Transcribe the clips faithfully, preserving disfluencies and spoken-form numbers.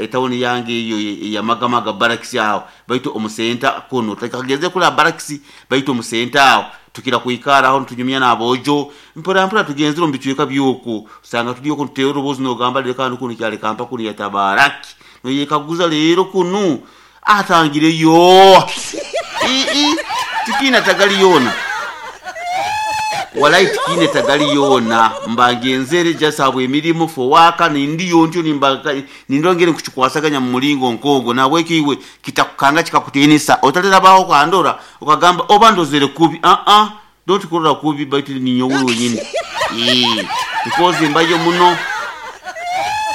Etawuni yange eyo ya Magamaga Barracks aho, baitu omu center kunu takagenze kula barracks, baitu omu center aho tukira kwikaraho nitunyumya n'aboojo mpora mpora. Tugenzire omu bicweka by'oku, osanga turi oku nituteera orubozi, nogamba leka hanu kunu kyali kampa kunu yatabaraki, noyekaguza leero kunu atangireyo ii tikiina tagali yoona, walai tikiine tagali yoona. Mba ngenzere just habw'emirimu, for work, nindiyo ntyo nimba nindongere nkukikwasaganya mu mulingo nk'ogwo. Nahabwekyo iwe kitakukanga, kikakutiinisa, otalirabaho okandora okagamba oba ndozere kubi. Aa, don't kurora kubi, baitu ninyowe wenyini, eh, because mbayo muno,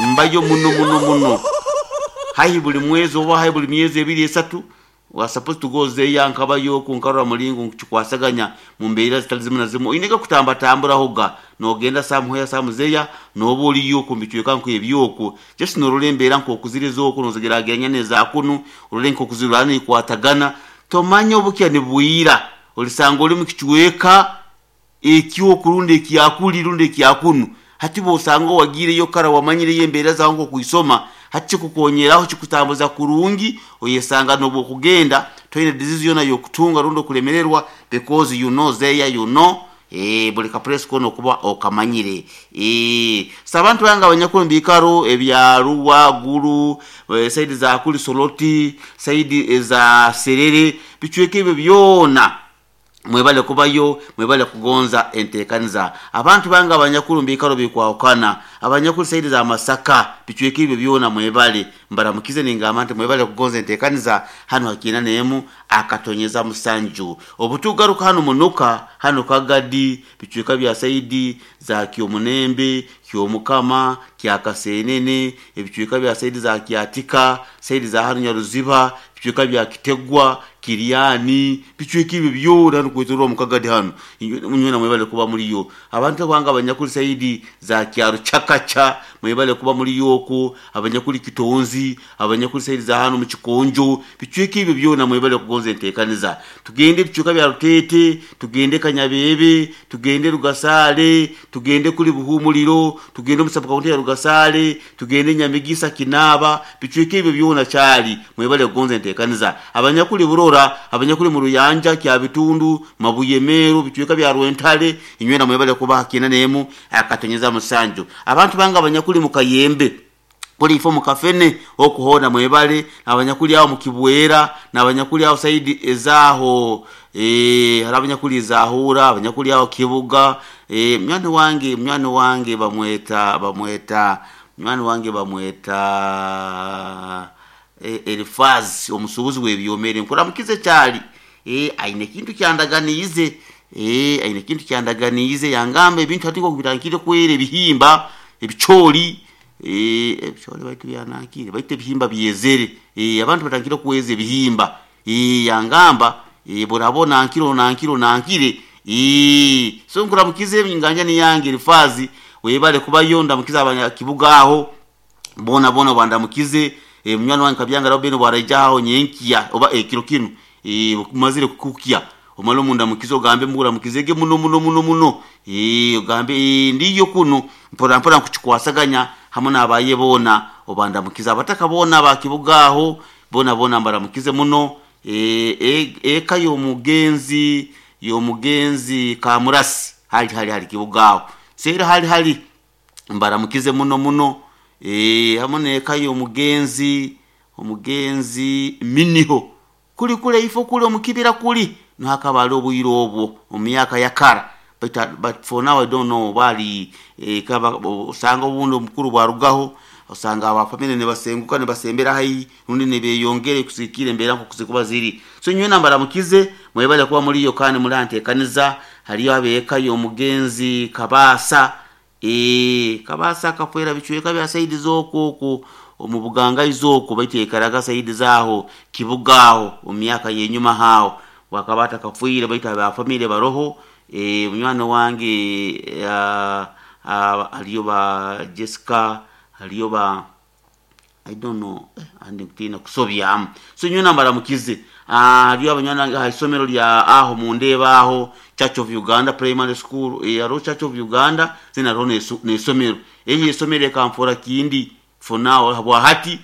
mbayo muno muno muno, haihi buli mwezi oba haihi buli myezi ebiri, esatu was supposed to go zeya, nkabayo oku nkarora mulingo nkukikwasaganya mu mbeera zitali zimu na zimu. Oinega kutambatamburahoga nogenda somewhere, some zeya, noba oliyo oku mubicweka nk'ebyokwo, just norora embeera nk'okuziri ez'oku, nozigeraageranya n'eza kunu, orole nk'okuzirora nikwatagana. Tomanya obukya nibwira, olisanga oli mu kicweka ekyoku rundi ekyakuli rundi ekyakunu. Hati bwosanga owagiireyo kara, wamanyireyo embeera zawe nk'okwisoma, hati kikukonyeraho, kikutambuza kurungi. Oyesanga nobu okugenda toine disease yona y'okutunga rundi okulemererwa, because you know there, you know, eh, buli ka place kona okuba okamanyire. Eh, so abantu bange abanyakuli mubikaro ebya Arua, Gulu, eh, side za kuli Soroti, side eza Serere, bicweka ebyo byona, mwebale kubayo, mwebale kugonza entekaniza. Abantu bange abanyakulu mubikaro bikwahukana, abanyakulu side za Masaka, bicweka ebyo byona, mwebale. Mbaramukize ningamba nti mwebale kugonza entekaniza hano hakiina nemu akatonyeza musanju. Obutugaruka hano munuka hano Kagadi, bicweka bya side za Kyomunembe, Kyomukama, Kyakasenene, ebicweka bya side za Kyatika, side za hano Nyaruziba, bicweka bya Kitegwa, Kiryani, bicweka ebyo byona hano kwetorora mu Kagadi hano, nywena mwebale kuba muliyo. Abantu bange abanyakuli side za Kyaro Chakacha, mwebale kuba muliyo okwo. Abanyakuli Kitonzi, abanyakuli side za hano mu Kikonjo, bicweka ebyo byona, mwebale kugonza entekaniza. Tugende ebicweka bya Rutete, tugende Kanyabebe, tugende Rugasale, tugende kuli Buhumuliro, tugende omu sub-county ya Rugasale, tugende Nyamigisa, Kinaba, bicweka ebyo byona kyali, mwebale kugonza entekaniza. Abanyakuli Burora, abanyakuli mu Ruyanja, Kyabitundu, Mabuye, Meru, bicweka bya Rwentale, inywena mwebale kuba hakina nemu akatonyeza musanju. Abantu bange abanyakuli mu Kayembe kuli ifo mukafene okuhona, mwebale. Abanyakuli aho mukibwera, n'abanyakuli aho side ezaho, eh hari abanyakuli zahura, abanyakuli aho Kibuga, eh mwana wange mwana wange bamweta bamweta mwana wange bamweta eh, Elifaz, omusubuzi w'ebyomere, nkuramukize kyali. eh aine kintu kyandaganiize, eh aine kintu kyandaganiize, yangamba ebintu hati nkokubitandikire kwera ebihimba, ebicooli, eh ebicooli baitu byanankire, baitu ebihimba byezere, eh abantu batandikire kweza ebihimba. eh yangamba eh burabo nankire nankire nankire. eh so nkuramukize nganja niyange Elifazi, webale kubayo. Ndamukiza abanyakibuga aho bona bona, bandamukize. e, munywani wange Kabyanga Robin bwaraija aho nyenkya oba ekiro kinu, e, kumazire kukukya, omale omundamukize, ogambe muramukizege muno muno muno muno, e, ogambe e, ndiyo kuno mpora mpora nkukikwasaganya hamwe n'abaye bona. Obandamukize abataka bona bakibuga aho bona bona, mbaramukize muno. e, e, eka y'omugenzi y'omugenzi Kamurasi hali hali hali kibuga aho seera hali hali, mbaramukize muno muno. e, hamwe n'eka y'omugenzi omugenzi Miniho kuli kule ifo kuli omukibira kuli nihakaba ali obwire obwo omu myaka ya kara, but, but for now I don't know bali, eh, kaba osanga obundi omukuru bwarugaho, osanga abafamily nibasenguka, nibasembera haihi rundi nibeyongere kusikira embeera nk'okuzikuba ziri. So nywena mbaramukize, mwebale kuba muliyo kandi muranteekaniza. Hariyo abeeka y'omugenzi Kabaasa, eh Kabaasa akafwera bicweka bya side z'okwo okwo omu Bugangaizi okwo, baitu yaikaraga side zaaho Kibuga aho omu myaka y'enyuma haaho bwakaba atakafwire, baitu abafamily baroho. e, munywani wange uh, uh, hariyo ba Jessica, hariyo ba, I don't know, eh, andi kutina kusobyamu. So nywena mbaramukize. Ah, hariyo abanywani bange ha isomero lya aho mundeba aho, Church of Uganda Primary School, eh, hariho Church of Uganda, zina hariho n'esomero eyi, esomero ekanfora kindi for now habwa hati.